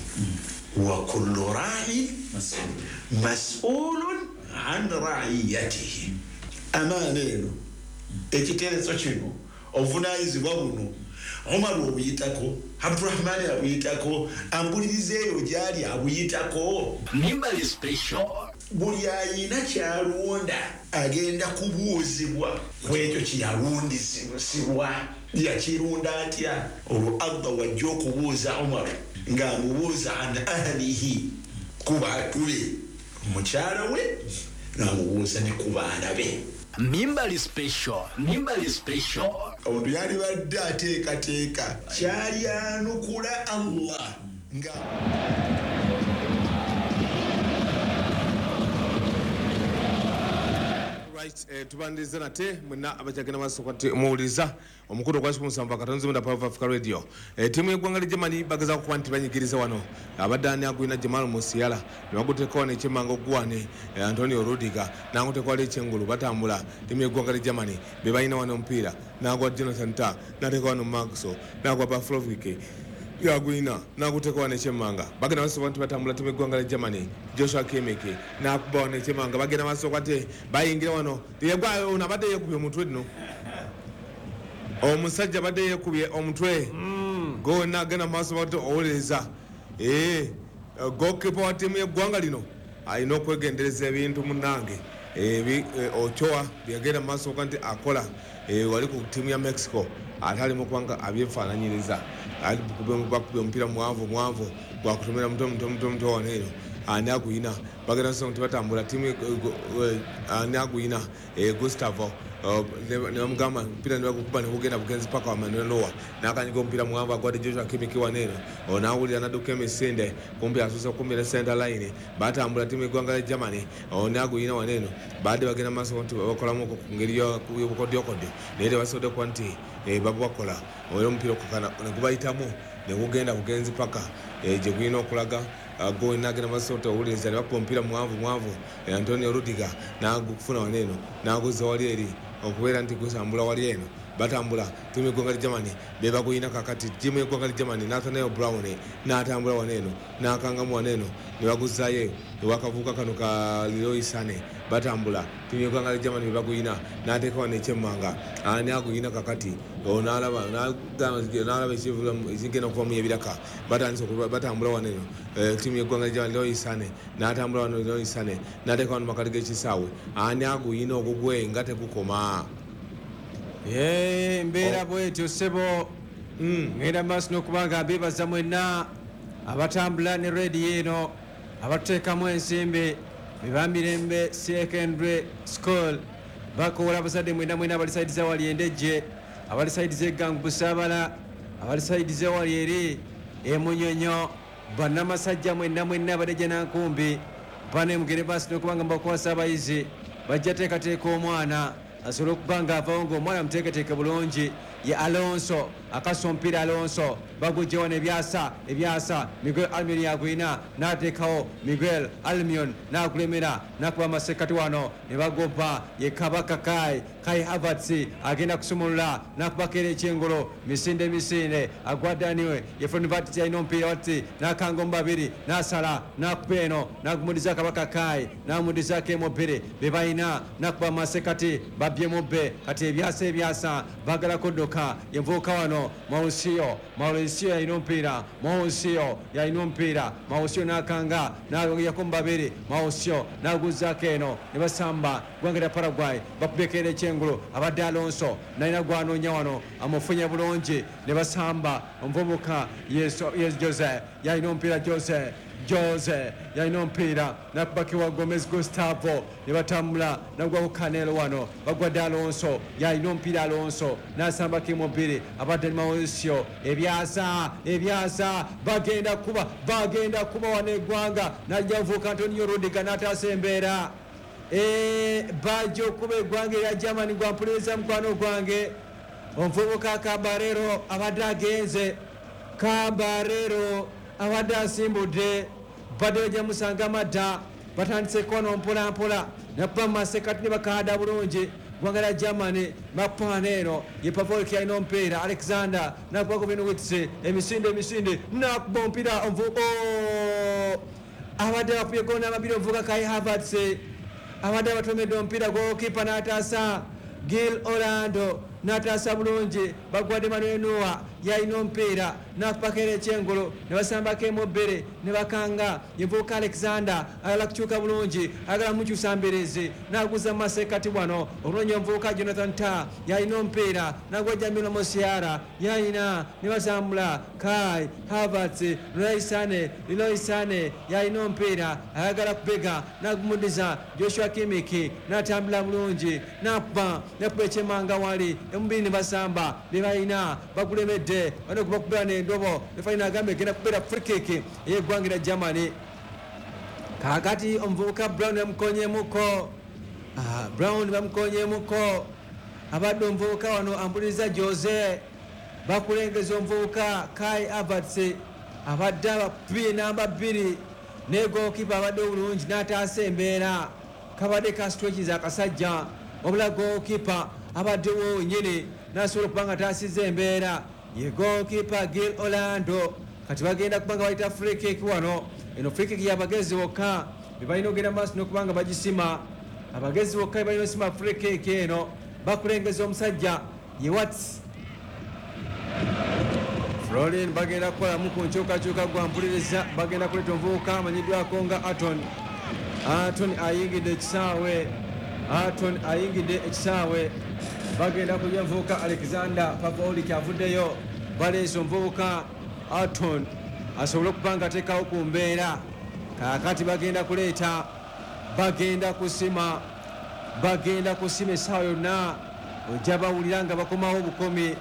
wa kullu ra'in mas'ulun an ra'iyatihi. Amaana eno ekiteeso kino obuvunaanyizibwa buno Omar obuyitako, Abdurahman abuyitako, ambuliriza eyo gy'ali abuyitako. Mimbali Special. Buli ayina kyalonda agenda kubuuzibwa ku ekyo kye yalundisibwa. Yakirunda atya? Olwo Allah wajja okubuuza Omar ng'amubuuza an ahlihi, ku bantu be, mukyala we, n'amubuuza ne ku baana be. Mimbali special, Mimbali special. Omuntu yalibadde ateekateeka kyalyanukula Allah nga Right, eh, tubandiriza nate mwenna abakyagenda maaso kwati muwuliriza omukutu ogwa kikumi musanvu akatonzi mwenda Power Africa Radio. Eh, ttiimu y'eggwanga lya Germany bagezaako kuba nti banyigiriza wano abadde ani agwina Jamal Musiala ne baguteeka wano ekyemmanga oguwane eh, Antonio Rudiger n'aguteeka wali ekyengulu batambula. Ttiimu y'eggwanga lya Germany be balina wano omupiira n'agwa Jonathan Tah n'ateeka wano Maxo n'agwa Pavlovic yagwina n'aguteeka wano ekyemmanga bagenda maaso nti batambula. Ttiimu y'eggwanga lya Germany Joshua Kimmich n'akuba wano ekyemmanga bagenda maaso kwate bayingira wano yegwa ono abadde yeekubye omutwe nno omusajja abadde yeekubye omutwe gonna agenda maaso bate owuliriza ee goalkeeper wa ttiimu y'eggwanga lino alina okwegendereza ebintu munnange Ochoa byagenda maaso nti akola wali ku ttiimu ya Mexico ate ali mu kubanga abyefaananyiriza bakubye omupiira muwanvu muwanvu gwakutomera muto muto muto muto wano eno ani agwina bagenda maaso nti batambula ttiimu ani agwina Gustavo ne bamugamba omupiira ne bagukuba ne gugenda bugenzi paka wa Manuel Neuer n'akanyiga omupiira muwanvu agwadde Joshua Kimmich wano eno n'awulira n'adduka emisinde kumpi asuuse okumira center line batambula ttiimu y'eggwanga lya Germany ani agwina wano eno badde bagenda maaso nti bakolamu ku ngeri y'obukodyokodyo naye tebasobodde kuba nti babubakola era omupiira okukana ne gubayitamu ne gugenda bugenzi paka gye gulina okulaga gonna agenda maaso owuliriza ne bakuba omupiira muwanvu muwanvu Antonio Rudiger n'agufuna wano eno n'aguzza wali eri okubeera nti gusambula wali eno batambula ttiimu y'eggwanga lya Germany be baguyina kakati ttiimu y'eggwanga lya Germany Nathaniel Brown n'atambula wano eno n'akangamu wano eno ne baguzaayo ewakavuuka kano ka Leroy Sané batambula ttiimu y'eggwanga lya Germany be baguyina n'ateeka wano ekyemmanga ani aguyina kakati n'alaba n'alaba ekigenda okuva mu ebiraka batandise batambula wano eno ttiimu y'eggwanga lya Germany Leroy Sané n'atambula wano Leroy Sané n'ateeka wano makati g'ekisaawe ani aguyina ogugwe nga tegukoma. Ye mbeera bwetyo ssebo ngenda maaso n'okubanga mbeebaza mwenna abatambula ne rediyo eno abatuteekamu ensimbi bebamirembe secondary school bakoola abazadde mwenna mwenna abali sayidi zawali endejje abali sayidi z'eggangu busaabala abali sayidi z'ewali eri emunyonyo bannamasajja mwenna mwenna abadejja nankumbi bane mugere maaso n'okubanga mbakwasa abayizi bajja teekateeka omwana asobola okuba nga avaawo ng'omwana muteeketeeke bulungi. Ye Alonso akasa omupiira Alonso bagujja wano ebyasa ebyasa Miguel Almion yagwina n'ateekawo Miguel Almion n'akulemera n'akuba amasekkati wano ne bagoba ye Kabaka Kai Kai Havertz agenda kusumulula n'akubako era ekyengolo misinde misinde agwa Daniel ye Florian alina omupiira wati n'akanga omu babiri n'asala n'akuba eno n'agumudiza Kabaka Kai n'amudizaako emobiri be balina n'akuba amasekkati babbye mubbe kati ebyasa ebyasa baagala kudduka yenvuuka wano Mauricio Mauricio yalina omupiira Mauricio yalina omupiira Mauricio n'akanga n'ayako mu babiri Mauricio n'aguzzaako eno ne basamba ggwanga lya Paraguay bakubyeko era ekyengulu abadde Alonso nalina gwanoonya wano amufunye bulungi ne basamba omuvubuka ye Jose yalina omupiira Jose Jose yalina omupiira nakubakiwa Gomez Gustavo ne batambula nagwako Canelo wano bagwadde Alonso yalina omupiira Alonso n'asambako emubiri abadde Mauricio ebyasa ebyasa bagenda kuba bagenda kuba wano eggwanga najja nvuuka Antonio Rudiger n'ataasa embeera bajja okuba eggwanga erya Germany gwampuliriza mukwano gwange omuvubuka Cabarero abadde agenze Cabarero abadde asimbudde badde bajja musanga madda batandise kono mpola mpola nakuba mu masekati ne bakaada bulungi ggwanga lya Germany mapaana eno ye Pavlovic alina omupiira Alexander nakubako Benowitz emisinde emisinde nakuba omupiira omuvubuka abadde bakubye gona amabiri omuvubuka Kai Havertz abadde abatomedde omupiira goalkeeper n'ataasa Gil Orlando n'ataasa bulungi bagwadde Manuel Neuer yalina omupiira n'akupakera ekyengolo ne basambako emu bbiri ne bakanga. Yenvubuka Alexander ayagala kukyuka bulungi, ayagala mukyusa mbirizi n'aguza mu masekkati wano okunoonya omuvubuka Jonathan Tah yalina omupiira n'agwa Jamal Musiala yalina ne batambula. Kai Havertz, Leroy Sane, Leroy Sane yalina omupiira ayagala kubega n'agumudiza Joshua Kimmich n'atambula bulungi n'akuba n'akuba ekyemanga wali emubiri ne basamba be balina bagulemedde bano gubakubira n'endobo. Referee n'agamba egenda kubeera free kick ey'eggwanga lya Germany. Kaakati omuvubuka Brown bamukonyemuko. Ah, Brown bamukonyemuko abadde omuvubuka wano ampuliriza Jose bakulengeza omuvubuka Kai Havertz abadde abakubye namba bbiri ne goalkeeper abadde obulungi n'ataasa embeera. Kabadde kasitwekiza akasajja wabula goalkeeper abaddewo wenyini n'asobola okuba nga ataasizza embeera ye goalkeeper Gil Orlando. Kati bagenda kuba nga bayita free kick wano. Eno free kick y'abagezi bokka be balina ogenda maaso n'okuba nga bagisima. Abagezi bokka be balina osima free kick eno. Bakulengeza omusajja ye Wats Florian. Bagenda kukolamu ku nkyukakyuka gwa mpuliriza. Bagenda kuleeta omuvubuka amanyiddwako nga Aton. Aton ayingidde ekisaawe, Aton ayingidde ekisaawe. Bagenda kulya omuvubuka Alexander Pavlovic avuddeyo, baleese omuvubuka Aton asobole okuba nga ateekawo ku mbeera. Kaakati bagenda kuleeta, bagenda kusima, bagenda kusima essaawa yonna ojja bawulira nga bakomawo obukomi.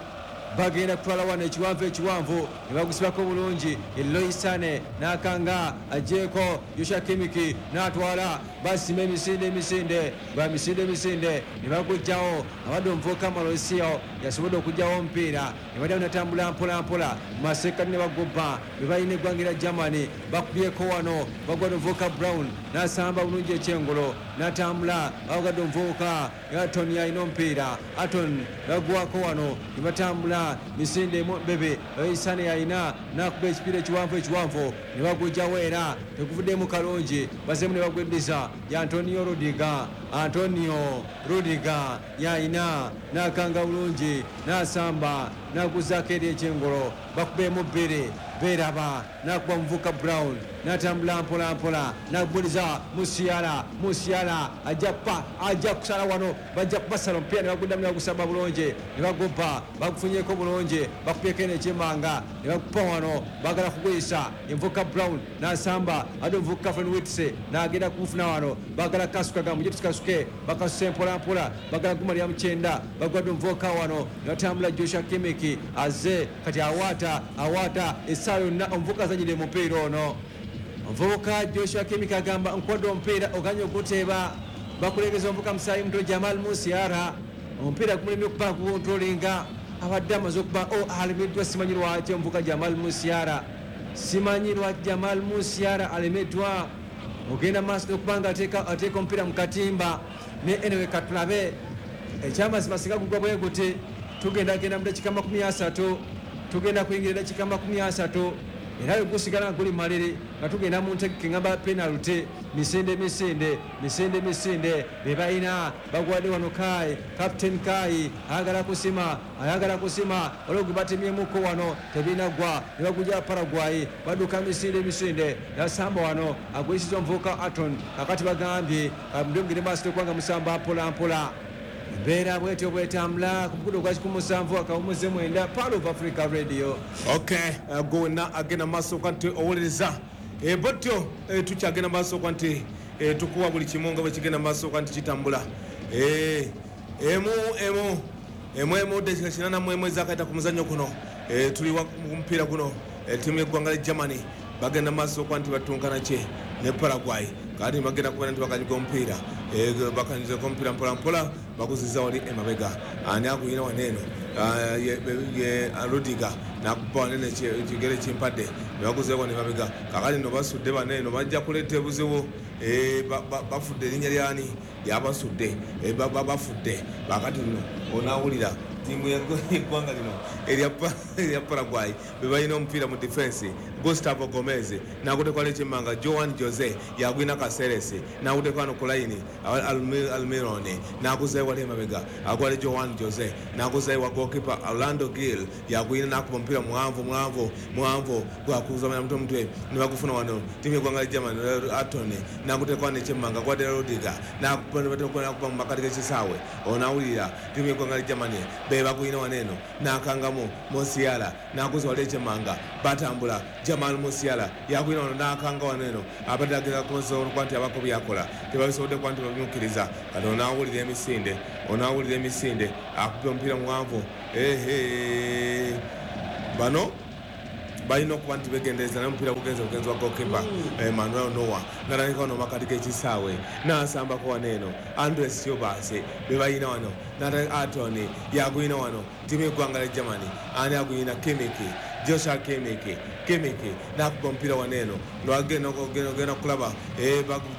Bagenda kutwala wano ekiwanvu ekiwanvu ne bagusibako bulungi. Leroy Sane n'akanga agyeko Joshua Kimmich n'atwala basima emisinde emisinde gwa misinde emisinde ne bagujjawo. Abadde omuvubuka Mauricio yasobodde okugjawo omupiira ne baddayo natambula mpola mpola masekati ne bagubba be balina eggwanga lya Germany. Bakubyeko wano bagwadde omuvubuka Brown n'asamba bulungi ekyengolo n'atambula bagadde omuvubuka Aton alina omupiira. Aton bagwako wano ne batambula misinde emu bebe Sane alina n'akuba ekipiira ekiwanvu ekiwanvu ne bagujjawo era teguvuddemu kalungi bazeemu ne bagweddiza ya Antonio Rudiger. Antonio Rudiger yalina n'akanga bulungi n'asamba n'aguzaako eri ekyengolo bakubeemu bbiri beeraba n'akuba muvuka Brown n'atambula mpola mpola n'agubuliza Musiala. Musiala ajja kupa ajja kusala wano bajja kubasala omupiira ne baguddamu ne bagusamba bulungi ne bagubba bagufunyeko bulungi bakubyeko eno ekyemanga ne bagupa wano bagala kuguyisa envuka Brown n'asamba ate omuvuka Fenwitse n'agenda kumufuna wano bagala kasuka gamuje tukasuke bakasuse mpola mpola bagala gumalira mu kyenda bagwadde omuvuka wano ne batambula. Joshua Kimmich azze kati awaata awaata essaawa yonna omuvuka azanyidde mupiira ono. Omuvubuka Joshua Kimmich agamba nkwadde omupiira oganye oguteeba. Bakulengeza omuvuka musaayi muto Jamal Musiala omupiira gumulemye okuba gukontrolinga abadde amaze okuba o alemeddwa. Simanyi lwaki omuvuka Jamal Musiala, simanyi lwaki Jamal Musiala alemeddwa ogenda maaso n'okuba nga ateeka omupiira mu katimba ne anyway katulabe ekyamazima singa gugwa bwe guti tugenda genda mu dakiika makumi asatu, tugenda kuyingira eddakiika makumi asatu era bwe gusigala nga guli maliri nga tugenda mu ntegeke ngamba penalty. Misinde misinde misinde misinde be balina bagwadde wano Kai, Captain Kai ayagala kusima ayagala kusima waliwo gwe batemyemuko wano tebinaggwa ne bagujja Paraguay badduka misinde misinde nasamba wano agwisiza omuvubuka Aton. Kakati bagambye mugende maaso okubanga musamba mpola mpola. Embeera bwetyo bwetambula ku mukutu gwa kikumi musanvu akawumuze mwenda Pearl of Africa Radio. Okay, uh, gwe wenna agenda maaso okuba nti owuliriza Eh, bwetyo eh, tukyagenda maaso okuba nti eh, tukuwa buli kimu nga bwe kigenda maaso okuba nti kitambula. Eh, emu emu emu emu dakika kinana mu emu ezakayita ku muzannyo guno. Eh, tuli wa- mu mupiira guno eh, ttiimu y'eggwanga lya Germany bagenda maaso okuba nti batunkana kye ne Paraguay. Kati bagenda kubeera nti bakanyiga omupiira. Eh, bakanyizeko omupiira mpola mpola baguziza wali emabega ani aguyina waneeno. Ah, ye- ye Rudiger nakuba wanene ekigere kimpadde ne baguzeeko ne mabega. Kakati no basudde baneeno bajja kuleeta ebuzibu. Eh, ba- ba- bafudde erinnya lyani lyabasudde. Eh, ba- ba- bafudde bakati nno onaawulira Tiimu y'eggwanga lino erya Paraguay be balina omupiira mu defense. Gustavo Gomez n'agutekwala ekyemmanga, Joan Jose yagwina Caceres n'aguteeka wano ku layini, Almirone n'aguzayo wali emabega, agwale Joan Jose n'aguzayo wa goalkeeper Orlando Gil yagwina n'akuba omupiira muwanvu muwanvu muwanvu gwakuzamanya mutwe mutwe ne bagufuna wano. Tiimu y'eggwanga lya Germany, Atone n'aguteeka wano ekyemmanga, gwadde Rudiger n'akuba mu makati g'ekisaawe. Onaawulira tiimu y'eggwanga lya Germany be bagwina wano eno n'akangamu Musiala n'aguza wali ekyemmanga, batambula Jamal Musiala yagwina wano n'akanga wano eno, abadde ageza kuba nti abako byakola tebabisobodde kuba nti babimukkiriza. Kati onaawulira emisinde, onaawulira emisinde, akuba omupiira muwanvu. Ehe, bano balina okuba nti begendereza naye omupiira gugenze bugenzi wa goalkeeper Emmanuel Noah n'atandika wano makati g'ekisaawe n'asambako wano eno Andres Silvas be balina wano, Atoni yagwina wano. Ttiimu y'eggwanga lya Germany ani agwina? Kimmich, Joshua Kimmich, Kimmich n'akuba omupiira wano eno ogenda okulaba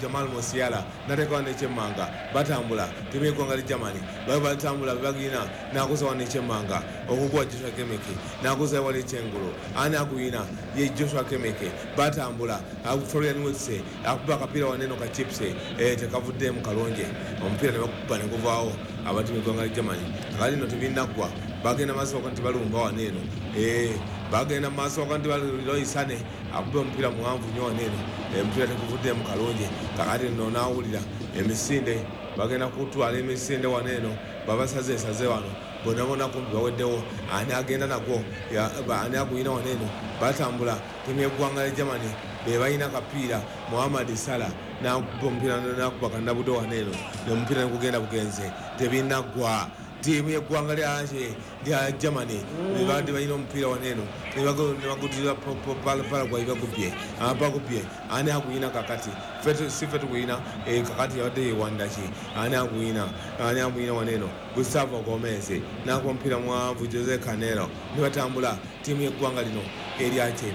Jamal Musiala n'ateeka wano ekyemmanga, batambula ttiimu y'eggwanga lya Germany batambula bagwina n'aguza wano ekyemmanga okugwa Joshua Kimmich n'aguza wali ekyengulu, ani agwina? Ye Joshua Kimmich. Batambula Florian Wirtz akuba akapiira wano eno ka chips tekavuddemu kalungi, omupiira ne bakuba ne guvaawo abatiimu y'eggwanga lya Germany. Kakati nno tebinnaggwa, bagenda maaso nti balumba wano eno, bagenda maaso nti baloisane akuba omupiira muwanvu nnyo wano eno, omupiira teguvuddemu kalungi. Kakati nno naawulira emisinde, bagenda kutwala emisinde wano eno, babasazeesaze wano bonna bonna kumpi baweddewo. Ani agenda nagwo? Ani agwina wano eno? Batambula ttiimu y'eggwanga lya Germany be balina akapiira, Mohamed Salah n'akuba omupiira n'akuba kannabudo wano eno, omupiira ne gugenda bugenze, tebinnaggwa. Ttiimu y'eggwanga lya Germany bebadde balina omupiira wano eno ne bagudira Paraguay, bagubye bagubye. Ani agwina kakati? Si ffe tugwina kakati, yabadde yewanda ki? Ani agwina? Ani agwina wano eno? Gustavo Gomez n'akuba omupiira muwanvu Jose Canelo ne batambula ttiimu y'eggwanga lino eryaki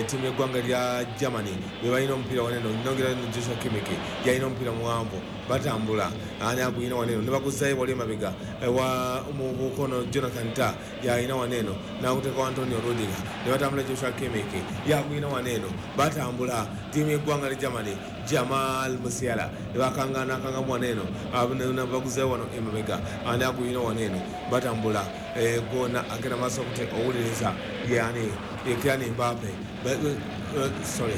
ttiimu y'eggwanga lya Germany be balina omupiira wano eno, nongera Joshua Kimmich yalina omupiira muwanvu, batambula. Ani agwina wano eno? Ne baguzayo wali emabega wa mu bukono Jonathan Tah yalina wano eno n'aguteeka Antonio Rudiger ne batambula Joshua Kimmich yagwina wano eno, batambula ttiimu y'eggwanga lya Germany Jamal Musiala ne bakanga n'akangamu wano eno, baguzayo wano emabega. Ani agwina wano eno? Batambula gona agenda maaso owuliriza yani Kylian Mbappe, sorry,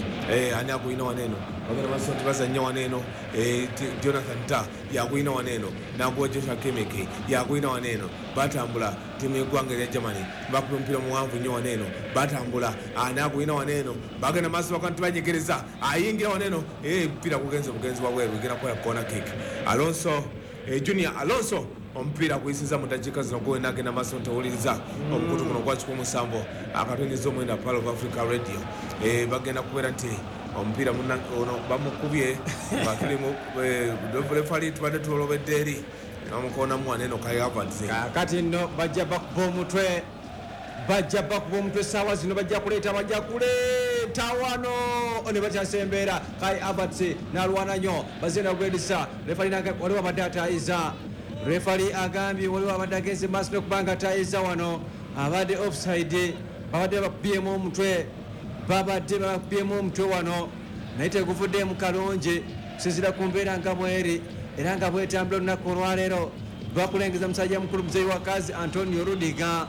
ani agwina wano eno? Bagenda maaso nti bazannya wano eno, Jonathan Tah yagwina wano eno n'aguwa Joshua Kimmich yagwina wano eno, batambula ttiimu y'eggwanga erya Germany bakuba omupiira muwanvu nnyo wano eno, batambula. Ani agwina wano eno? Bagenda maaso baka nti banyegereza, ayingira wano eno, omupiira gugenze bugenzi wabweru, egenda kukola corner kick. Alonso Junior Alonso omupiira guyisiza mu dakiika zino gwena agenda maaso ntawuliriza omukutu guno gwa kikumi musanvu akatonyeza omwenda Pearl of Africa Radio. Bagenda kubeera nti omupiira ono bamukubye nga tuli mu refali tubadde tuolobedde eri bamukonamu wano eno Kai Havertz. Kakati nno bajja bakuba omutwe, bajja bakuba omutwe essaawa zino, bajja kuleeta bajja kuleeta wano ne bakyasa embeera. Kai Havertz n'alwana nnyo, bazenda gwedisa refali waliwo abadde ataayiza, refali agambye waliwo abadde agenze maaso n'okuba nga ataayiza wano, abadde offside, babadde bakubyemu omutwe, babadde bakubyemu omutwe wano naye teguvuddemu kalungi kusinziira ku mbeera nga bweri era nga bwetambula olunaku olwaleero. Bakulengeza musajja mukulu muzeeyi wa kazi Antonio Rudiger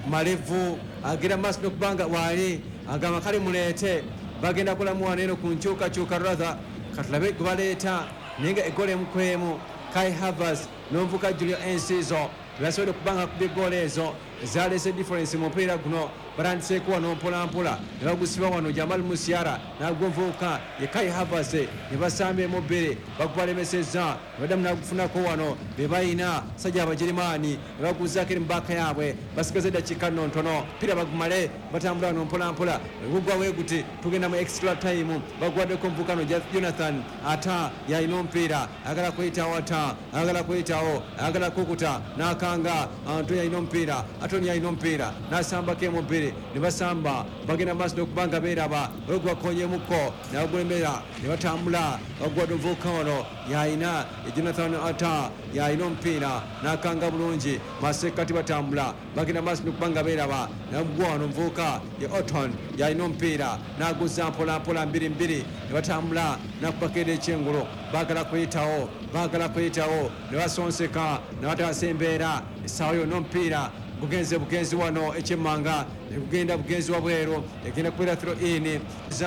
malevu agenda maaso n'okuba nga waali agamba kale muleete, bagenda kulamu wano eno ku nkyukakyuka rather katulabe gwe baleeta naye nga eggola emu ku emu. Kai Havertz n'omuvuka Julio Enciso bebasobodde okuba nga akubye eggoolo ezo zaleese difference mu mupiira guno. Batandiseeko wano mpolampola ne bagusiba wano Jamal Musiala n'agwonvuuka ye Kai Havertz ne basamba emu bbiri bagubalemesezza ne baddamu n'agufunako wano be balina sajja Abagirimaani ne baguzaako eri mu baaka yaabwe. Basigaza eddakiika nno ntono pira bagumale, batambula wano mpolampola gugwa we guti tugenda mu extra time. Baguwaddeko omuvuka Jonathan Ata yalina omupiira agala kuyitawo, Ata agala kuyitawo, agala kukuta n'akanga. Antonio yalina omupiira Atoni alina omupiira n'asambako emu bbiri ne basamba, bagenda maaso n'okuba nga beeraba olugwakonyemukko nabagulemera ne batambula. Bagwadde omuvubuka ono yalina Jonathan Ata, yalina omupiira n'akanga bulungi masekkati, batambula bagenda maaso n'okuba nga beeraba. Nagwa wano omuvubuka ye Oton, yalina omupiira n'aguzza mpolampola mbiri mbiri ne batambula, nakubako era ekyengulu, baagala kuyitawo, baagala kuyitawo ne basonseka ne bataasa embeera. Essaawa yonna omupiira gugenze bugenzi wano ekyemmanga, negugenda bugenzi wabweru, egenda kubeera throw in.